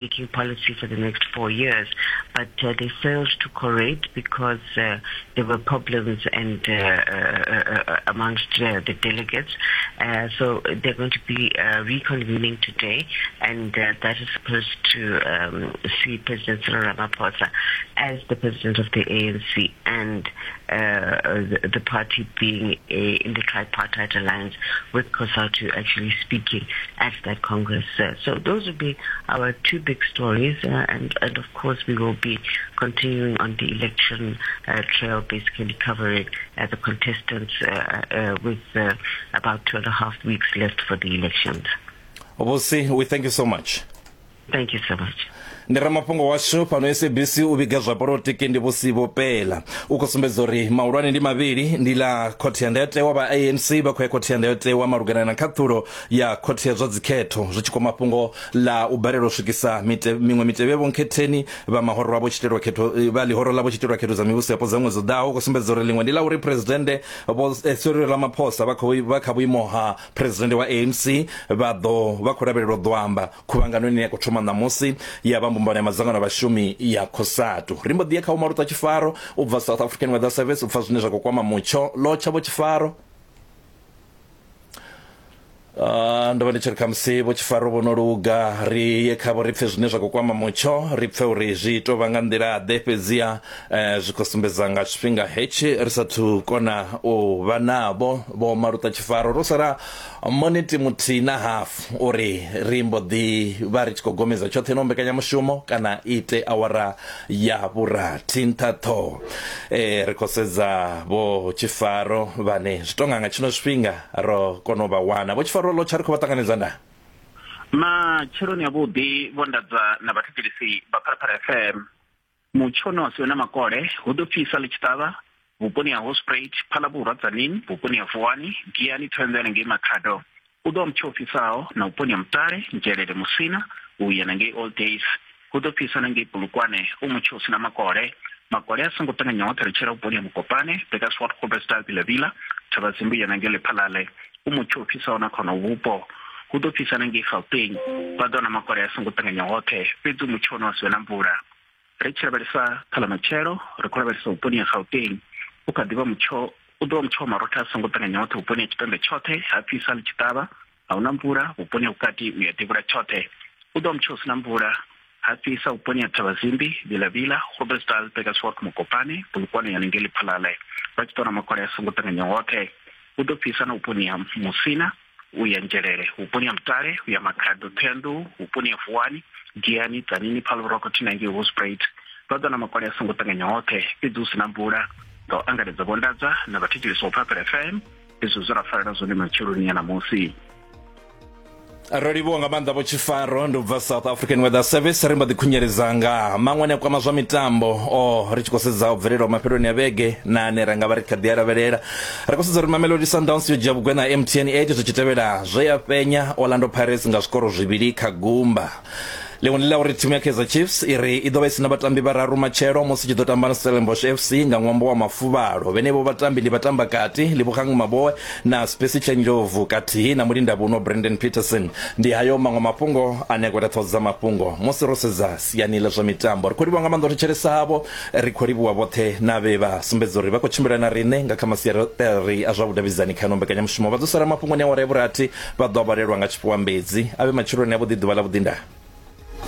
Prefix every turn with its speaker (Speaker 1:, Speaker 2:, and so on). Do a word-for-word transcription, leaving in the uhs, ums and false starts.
Speaker 1: Making policy for the next four years, but uh, they failed to correct because uh, there were problems and uh, uh, uh, amongst uh, the delegates. Uh, so they're going to be uh, reconvening today, and uh, that is supposed to um, see President Cyril Ramaphosa as the president of the A N C and uh, the, the party being a, in the tripartite alliance with COSATU actually speaking at that Congress. Uh, so those would be our two big stories, uh, and, and of course we will be continuing on the election uh, trail, basically covering uh, the contestants uh, uh, with uh, about two and a half weeks left for the elections.
Speaker 2: Obosi, we thank you so much.
Speaker 1: Thank you so much.
Speaker 2: Ndi ramafhungo washu fhano S A B C u vhiga zwa polotiki ndi Vhusi Pela. U khou sumbedza uri mahulwane ndi mavhili, ndi ḽa khothe ya ndayotewa vha A N C vha khou ya khothe ya ndayotewa malugana na khaṱhulo ya khothe ya zwa dzikhetho zwi tshi kwama fhungo ḽa u balelwa u swikisa mite, miṅwe mitevhe vhonkhetheni vha mahoro avho tshitelwa khetho vha ḽihoro ḽavho tshitelwa khetho dza mivhuso yapo dza ṅwedzi u ḓaho. U khou sumbedza uri ḽiṅwe ndi ḽa uri presidennde vho Cyril Ramaphosa vha khou vha kha vhuimo ha presidennde wa A N C vha ḓo vha khou lavhelelwa u ḓo amba khuvhangano ine ya khou thoma ṋamusi ya vha mbumbano ya madzangano a vhashumi ya COSATU. Ri mbo ḓi ya kha Maluta Tshifaro u bva South African Weather Service u pfa zwine zwa khou kwama mutsho. Lotsha vho Tshifaro. Uh, ndo vha ndi tshi ri khamusi vho Tshifaro vho no luga, ri ye khavho ri pfe zwine zwa khou kwama mutsho, ri pfe uri zwi tou vha nga nḓila ḓe, fhedziha eh, zwi khou sumbedza nga tshifhinga hetshi ri sathu kona u vha navho vho Maluta Tshifaro. Ro sala miniti muthihi na hafu uri ri mbo ḓi vha ri tshi khou gomedza tshoṱhe no mbekanyamushumo kana ite awara ya vhurathi nṱha ṱhoho. Eh, ri khou sedza vho Tshifaro vhane zwi tonga nga tshino tshifhinga ro kona u vha wana. Vho Tshifaro, lo tsha ri khou vha ṱanganedza nda
Speaker 3: matsheloni avhuḓi vho Ndadza na vhathetshelesi vha Phalaphala F M. Mutsho no asiwe na makole, hu ḓo fhisa ḽi tshi ṱavha vhuponi ha Hospruit, Phalabulwa Tzaneen, vhuponi ha Vuwani, Giyani, Thohoyandou ngei Makhado. U ḓo vha mutsho u fhisaho na vhuponi ha Mutale, Nzhelele, Musina u ya na ngei Old Days. Hu ḓo fhisa na ngei Polokwane, u mutsho u si na makole. Makole a songo ṱanganya hoṱhe ri tshela vhuponi ha Mokopane, Bekkerswart, Groblersdal, Vilavila, Thabazimbi ya na ngei Lephalale. U mutsho u fhisaho na khona vhupo. Hu ḓo fhisa na ngei Gauteng, vha ḓo na makole a songo ṱanganya hoṱhe, fhedzi mutsho no asiwe na mvula. Ri tshi lavhelesa kha ḽa matshelo, ri khou lavhelesa vhuponi ha Gauteng, u kha ḓivha mutsho u ḓo vha mutsho wa marotha a songo ṱanganya hoṱhe vhuponi ha Tshipembe tshoṱhe, ha fhisa ḽi tshi ṱavha, a huna mvula vhuponi ha vhukati u ya devhula tshoṱhe. U ḓo vha mutsho u si na mvula, ha fhisa vhuponi ha Thabazimbi, Vilavila, Groblersdal, Bekkerswart, Mokopane, Polokwane ya ngei Lephalale, vha tshi ḓo na makole a songo ṱanganya hoṱhe. U ḓo fhisa na vhuponi ha Musina u ya Nzhelele, vhuponi ha Mutale u ya Makhado, Thohoyandou, vhuponi ha Vuwani, Giyani, Tzaneen, Phalabulwa na ngei Hospruit. Vha ḓo na makole a songo ṱanganya hoṱhe, fhedzi hu si na mvula. Nga u angaredza vho Ndadza na vhathetshelesi vha Phalaphala F M, izwo zwe ra farela zwone matsheloni ya ṋamusi.
Speaker 2: Ro livhuwa nga maanḓa vho Tshifaro ndi u bva South African Weather Service. Ri mbo ḓi khunyeledza nga maṅwe ane a kwama zwa mitambo o ri tshi khou sedza u bvelelaho mafheloni a vhege na ane ra nga vha ri kha ḓi a lavhelela. Ri khou sedza uri Mamelodi Sundowns yo dzhia vhugwena ha M T N eight zwi tshi tevhela zwe ya fhenya Orlando Pirates nga zwikoro zwivhili kha gumba. Ḽiṅwe ndi ḽa uri thimu ya Kaizer Chiefs i ri i ḓo vha i si na vhatambi vhararu matshelo musi tshi ḓo tamba na Stellenbosch F C nga ṅwambo wa mafuvhalo. Vhenevho vhatambi ndi vhatambakati Lebogang Maboe na Spesihle Ndlovu kathihi na mulindavhuno Brandon Peterson. Ndi hayo maṅwe mafhungo ane a khou ita ṱhoho dza mafhungo musi ro sedza siani ḽa zwa mitambo. Ri khou livhuwa nga maanḓa u thetshelesa havho, ri khou livhuwa vhoṱhe na vhe vha sumbedza uri vha khou tshimbila na riṋe nga kha masiari a zwa vhudavhidzani kha ino mbekanyamushumo. Vha ḓo sala mafhungoni a awara ya vhurathi, vha ḓo vhalelwa nga tshifhiwa mbedzi. A vhe matsheloni avhuḓi, ḓuvha ḽa vhuḓi, ndaa.